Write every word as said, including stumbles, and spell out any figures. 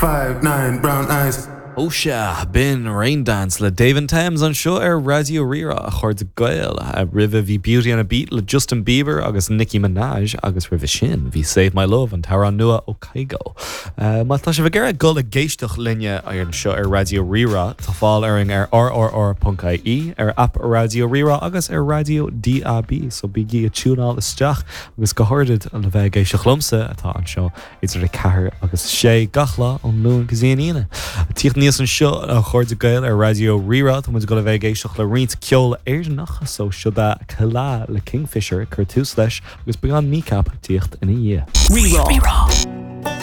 Five, nine, brown eyes. Ó sea, b'in Raindance le Dave and Thames anseo ar Raidió Rí-Rá a chairde Gael roimhe bhí Beauty on a Beat le Justin Bieber agus Nicki Minaj agus roimhe sin bhí Save My Love an t-amhrán nua ó Kygo. Uh, má tá sibh ag iarraidh dul ag éisteacht linne anseo ar Raidió Rí-Rá tá fáil orainn ar rrr.ie ar app Raidió Rí-Rá agus ar Raidió DAB so bígí ag tiúnáil isteach agus go háirithe le bheith ag éisteacht liomsa atá anseo idir a ceathair agus sé gach lá ón Luan go dtí an Aoine. Tíocht níos anseo a chairde Gael ar Raidió Rí-Rá tá muid ag dul a bheith ag éisteacht le roinnt ceol Éireannach so seo Kila le Kingfisher chun tús leis agus beidh an Kneecap tíocht ina dhiaidh. Rí-Rá.